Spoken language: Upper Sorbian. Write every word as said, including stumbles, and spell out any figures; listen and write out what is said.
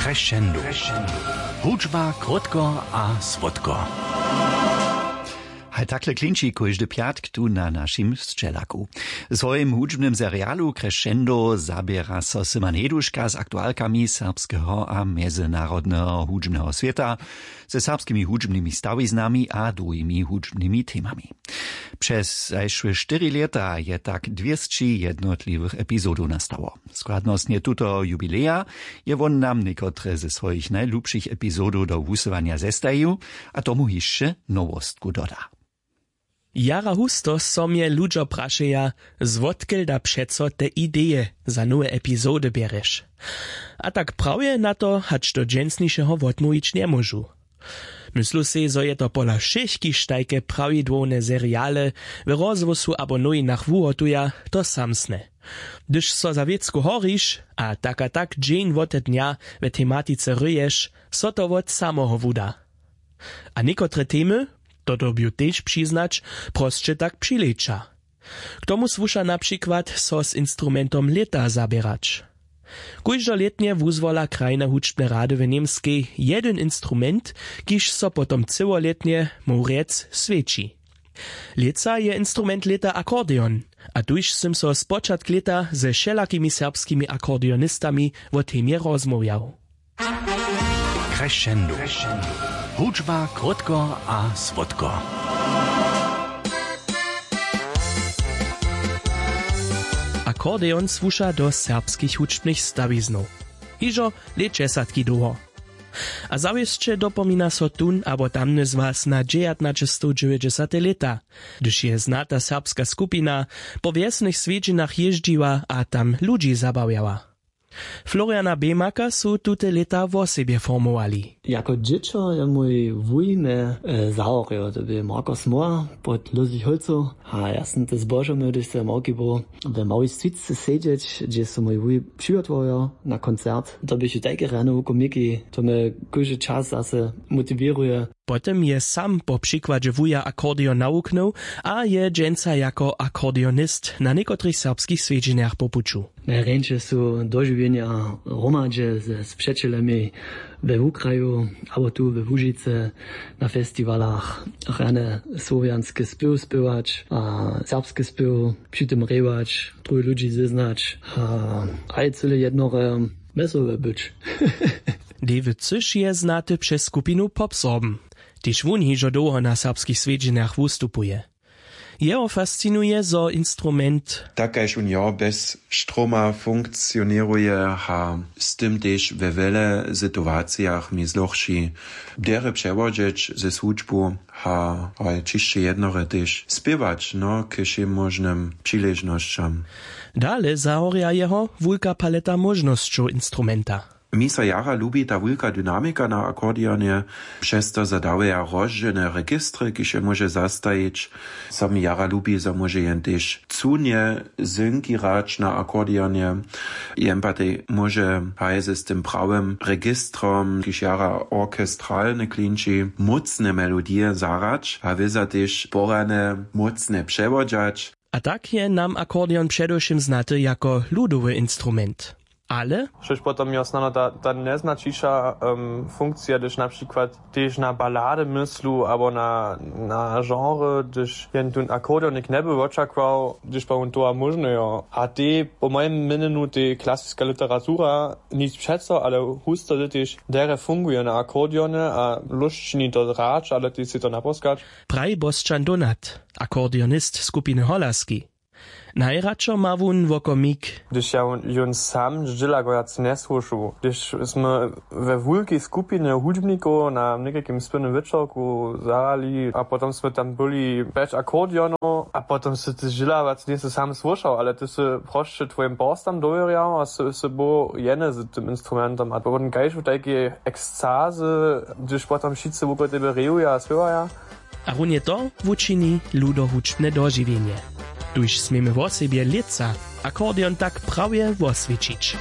Crescendo. Hudźba krótko a słódko. Haj takle klinči kóždy pjatk tu na našim sćelaku. W swojim hudźbnym serialu Crescendo zaběra so Syman Heduška z aktualkami serbskeho a mjezynarodneho hudźbneho swěta, ze serbskimi hudźbnymi stawiznami a druhimi hudźbnymi temami. Přez zašłe štyri lěta je tak dwěsći jednotliwych epizodow nastało. Składnostnje tutoho jubileja je wón nam někotre ze swojich najlubšich epizodow do wusyłanja zestajił a tomu hišće nowostku doda. Jara husto so mje ludźo prašeja, zwotkel da přeco te ideje za nowe epizody bjerješ? A tak prawje na to hač do dźensnišeho wotmołwić njemóžu. Myslu sej, zo je to pola wšěch, kiž tajke prawidłowne seriale w rozhłosu abo nowinach wuhotuja, to samsne. Hdyž so za wěcku horiš a tak a tak dźeń wote dnja we tematice hryješ, so to wot samoho wuda. A někotre temy, to dyrbju tež přiznać, prosće tak přileća. K tomu słuša na přikład so z instrumentom lěta zaběrać. Kóždolětnje wuzwola krajne hudźbne rady w Němskej jedyn instrument, kiž so potom cyłolětnje, móhł rjec, swjeći. Lětsa je instrument lěta akordeon, a tuž sym so spočatk lěta ze wšelakimi serbskimi akordeonistami wo temje rozmołwjał. Crescendo. Hudźba krótko a słódko. Akordeon słuša do serbskich hudźbnych stawiznow hižo lětdźesatki dołho. A zawěsće dopomina so tón abo tamny z was na dźewjatnaćestowdźewjećdźesate lěta, hdyž je znata serbska skupina po wjesnych swjedźenach jězdźiła a tam ludźi zabawjała. Floriana Bemaka su tute lěta wosebje formowali. Jako dźěćo je mój wuj mje zahorił, to bě Marko Smoła pod Lózich Hólcow. A ja sym te zbožomył, hdyž se małki był, we małej switce sedźeć, hdźež su mój wuj přihotowjo na koncert. To běchu tajke rjane wukomiki, to mje kóždy čas zase motiwěruje. Potom je sam po přikładźe wuja akordeon nawuknył a je dźensa jako akordeonist na někotrych serbskich swjedźenjach po puću. Najrjeńše su dožiwjenja hromadźe ze spřećelemi we wukraju abo tu we łužicy, na festiwalach rjane słowjanske spěw spěwać a serbske spěw, při tym rěwać, druhich ludźi zeznać a haj cyle jednore wjesołe być. David cyš je znaty přez skupinu popsorben. Tež wón hižo dołho na serbskich swjedźenjach wustupuje. Jeho fascinuje zo instrument tak kaž wón jo bjez štroma funkcioněruje a z tym tež we wjele situacijach mjez dlóhši derje přewodźeć ze słužbu a haj ćišće jednore tež spěwać no k wšěmóžnym přiležnosćam. Dale zahorja jeho wulka paleta móžnosćow instrumenta. Mi so jara lubi ta wulka dynamika na akordeonje, přez to zo dawaja rozdźělne registry kiž je móže zastajić. So mi jara lubi zo móže jen tež cunje zynkirać na akordeonje. Jen patej móže haj z tym prawym registrom kiž jara orchestralne klinči mócne melodije zahrać a wěza tež porjane mócne přewodźać. A tak je nam akordeon předewšěm znaty jako ludowy instrument. Ale štož potom jo snano ta ta njeznaćiša funkcija hdyž na přikład tež na balady myslu abo na na genre hdyž jen tón akordeonik njeby wočakował hdyž pak wón towa móžny jo a tej po mojim měnjenju tej klasiska literatura nic přeco ale husto ty tež derje funguje na akordeony a lóšt čini to hrać ale tej sej to naposkać. Praji bosćan donat, akordeonist skupiny holaski. Najradšo ma wón wokomik. Hdyž ja jón sam zdźěla go wjac njesłušu hdyž smy we wulkej skupinje hudźbnikow na někajkim spěwnym wječorku zahrali a potom smy tam byli pjeć akordeonow a potom sy ty zdźěla wjac njejsy sam słyšał ale ty sy prosće twojim porstam dowěrjał a sy sy był jeny z tym instrumentom a potom kaž w tajkej ekscazy hdyž potom wšitcy wukół tebe rejuja a spěwaja. A runje to wučini ludohudźbne dožiwjenje, tuž směmy wosebje lětsa akordeon tak prawje woswjećić.